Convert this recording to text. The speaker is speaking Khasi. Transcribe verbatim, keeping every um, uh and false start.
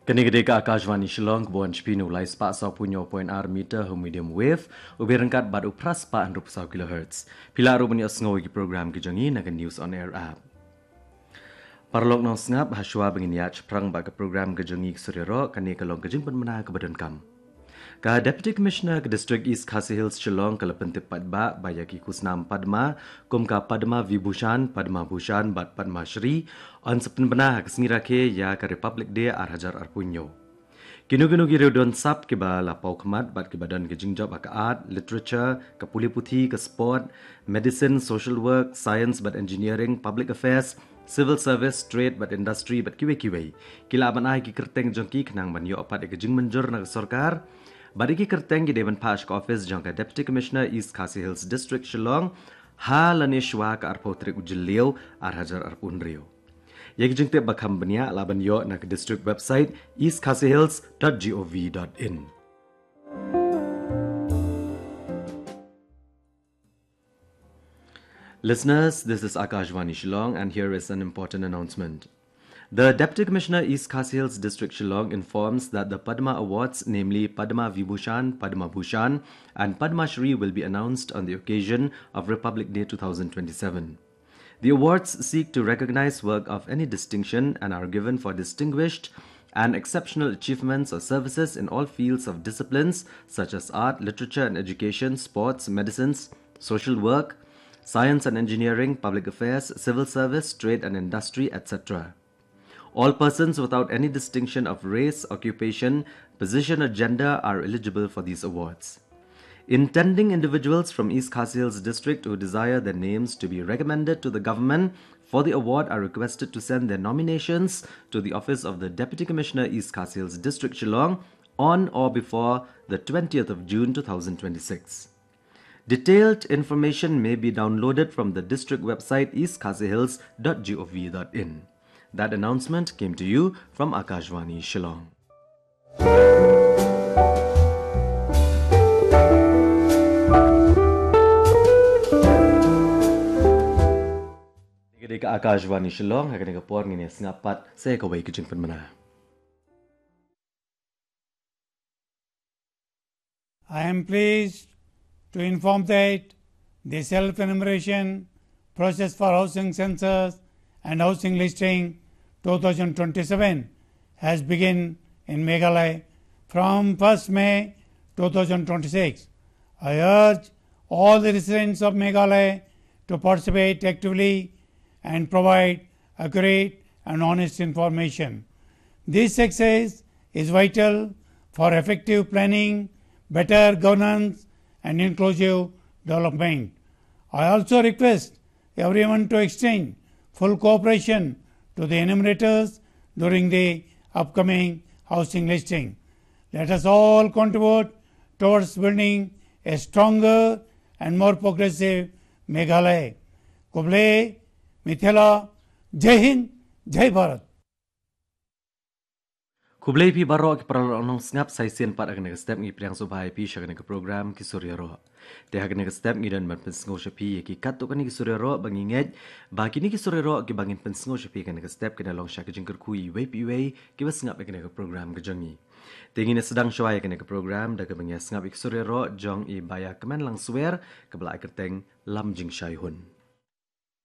Kane ka dei ka Akashvani Shillong, ka bun shiphi na u lai spah saw phew hynñiew point ar meter ha u medium wave, u byrngkat bad u phra spah hynriew phew saw kilohertz. Phi la ruh ban ïohsngew ïa ki program ki jong ngi na ka News on Air app. Paralok nongsngap, ha shuwa ba ngin ïaid shaphrang bad ka program ka jong ngi ki sur ïaroh, kane ka long ka jingpynbna kaba donkam. Ka Deputy Commissioner ka District East Khasi Hills Shillong ka la pyntip paidbah ba ïa ki khusnam Padma, kum ka Padma Vibhushan, Padma Bhushan bad Padma Shri, yn sa pynbna ha ka sngi rakhe ïa ka Republic Day ar hajar arphew hynñiew. Kino kino ki riewdon sap kiba la paw khmat bad kiba don ka jingjop ha ka art, literature, ka pule puthi, ka sport, medicine, social work, science bad engineering, public affairs, civil service, trade bad industry bad kiwei kiwei, ki lah ban ai ki kyrteng jong ki khnang ban ïoh pat ïa ka jingmynjur na ka sorkar. Bad ïa ki kyrteng ki dei ban phah sha ka office jong ka Deputy Commissioner East Khasi Hills District Shillong ha lane shuwa ka arphew tarik u Jylliew ar hajar arphew hynriew. Ïa ki jingtip ba kham bniah lah ban ïoh na ka district website east khasi hills dot gov dot in. Listeners, this is Akashvani Shillong, and here is an important announcement. The Deputy Commissioner East Khasi Hills District Shillong informs that the Padma Awards, namely Padma Vibhushan, Padma Bhushan, and Padma Shri, will be announced on the occasion of Republic Day two thousand twenty-seven. The awards seek to recognize work of any distinction and are given for distinguished and exceptional achievements or services in all fields of disciplines such as art, literature and education, sports, medicines, social work, science and engineering, public affairs, civil service, trade and industry, et cetera. All persons without any distinction of race, occupation, position or gender are eligible for these awards. Intending individuals from East Khasi Hills District who desire their names to be recommended to the government for the award are requested to send their nominations to the office of the Deputy Commissioner, East Khasi Hills District, Shillong, on or before the twentieth of June two thousand twenty-six. Detailed information may be downloaded from the district website east khasi hills dot gov dot in. That announcement came to you from Akashvani Shillong. Ka dei ka Akashvani Shillong, ha kane ka por ngin ïa sngap pat sa kawei ka jingpynbna. I am pleased to inform that the self-enumeration process for housing census and housing listing two thousand twenty-seven has begun in Meghalaya from first May two thousand twenty-six. I urge all the residents of Meghalaya to participate actively and provide accurate and honest information. This success is vital for effective planning, better governance, and inclusive development. I also request everyone to extend full cooperation to the enumerators during the upcoming housing listing. Let us all contribute towards building a stronger and more progressive Meghalaya. Khublei, Mithila, Jai Hind, Jai Bharat. Khublei phi baroh ki paralok nongsngap, sa shisien pat ha kane ka step ngi pdiang sngewbha ïa phi sha kane ka program Ki Sur Ïaroh. Te ha kane ka step ngi don ban pynsngew sha phi ïa ki katto katne ki sur ïaroh ba ngi ngeit ba kine ki sur ïaroh kiba ngin pynsngew sha phi ha kane ka step kin long sha ka jingkyrkhu iwei pa iwei kiba sngap ïa kane ka program ka jong ngi. Te ngin ïa sdang shuwa ïa kane ka program da kaba ngi ïa sngap ïa ki sur ïaroh jong i Baiakmen Langswer kaba la ai kyrteng Lam Jingshai Hun.